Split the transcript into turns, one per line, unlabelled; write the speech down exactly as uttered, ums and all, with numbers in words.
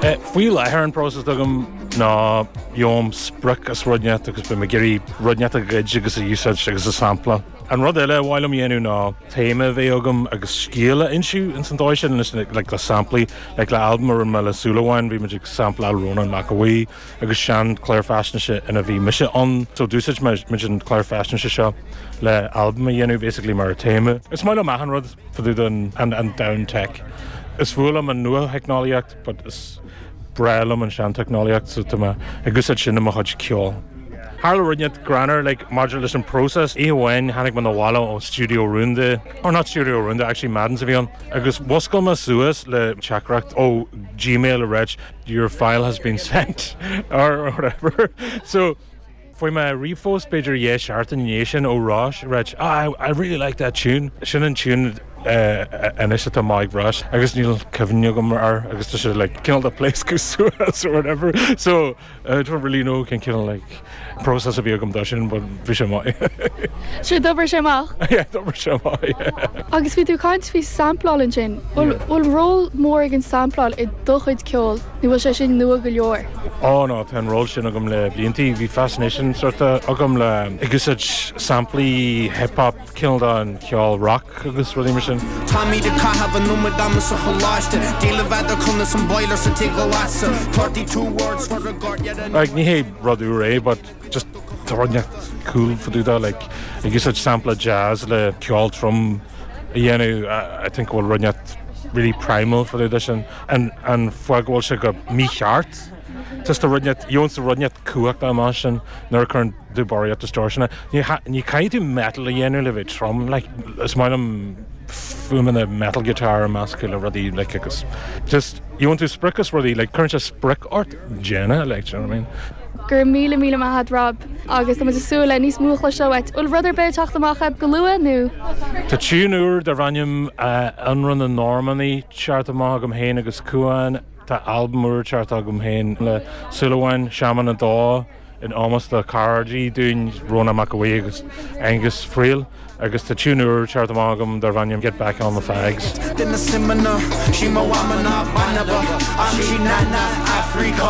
Eh, faoi láthair an process agam ná gheobhaim sprioc as rud inteacht agus beidh mé ag iarraidh rud inteacht a ghoid agus a úsáid agus a sampla. An rud eile bhfuil liom dhéanamh ná téama bheith agam agus scéal a inse ins an dóigh sin leis like, le samplaí like, le album a rinne mé le Súilleabháin bhí muid ag sampláil Rónán Mac Aodha Bhuí agus sean clár faisnéise ina bhí mise ann so d'úsáid muid an clár faisnéise seo le album a dhéanamh basically mar téama. Is maith liom achan rud fá dtaobh den an, an domhan tech. Is fuath liom an nua-theicneolaíocht, but is breá liom an sean-teicneolaíocht so tá mé ag úsáid sin i mo chuid ceoil. Tharla rud inteacht greannmhar like, maidir leis an process oíche amháin tháinig mé abhaile ó Studio Rúnda or not Studio Rúnda actually Madden a bhí ann agus mhuscail mé suas le teachtaireacht ó Gmail a rá your file has been sent or whatever so Fuair mé ríomhphost b'fhéidir dhá sheachtain ina dhiaidh sin ó Rois rá ah, I, I really like that tune sin an tune uh, anois atá maith Rois agus níl cuimhne agam air agus tá sé like cineál de pléascadh suas or whatever so uh, don't really know cén cineál like process a bhí agam dó sin but bhí sé maith.
Sé d'obair sé amach
Yeah, d'obair sé amach, yeah.
Agus bhí tú ag caint faoi sampláil ansin bhfuil bhfuil ról mór ag an sampláil i do chuid ceoil nó bhfuil sé sin nua go leor.
Ó no tá an ról sin agam le blianta bhí fascination sort agam le ag úsáid samplaí hip-hop cineál an ceol rock agus rudaí mar sin.
Táimid ag caitheamh an iomad ama sa choláiste Díle bheith conas an boiler sa tigh a lasadh Thirty two words for a guard
Like ní hé rud úr é, but just tá rud inteacht cool fá dtaobh de like ag úsáid sampla jazz le ceol trom a dhéanamh I think bhfuil rud inteacht really primal fá dtaobh de sin an an fáth go bhfuil sé go mícheart. Just a rud inteacht gheobhann sa rud inteacht cumhacht amach sin nuair a chuireann tú barraíocht distortion ní ní caithfidh tú metal a dhéanamh le bheith trom like is maith liom fuaimeanna metal guitar measctha le rudaí like agus just you want to sprioc is rudaí like cuireann sé sprioc ort déanamh like do you know what I mean?
Gur míle míle maith agat Rob agus tá súil le níos mó a chloisteáil uait bhfuil rud ar bith ag teacht amach go luath nó?
Tá tune úr darb ainm Ionradh na Normannaí teacht amach agam féin agus Cuan tá album úr teacht agam féin le Súilleabháin Seaman a dó in ómós do chairde dúinn Rónán Mac Aodha Bhuí agus Angus Friel agus tá tune úr teacht amach agam darb ainm Get Back on the Fags.
Duine simana sí mo amana banaba ach sí nana Africa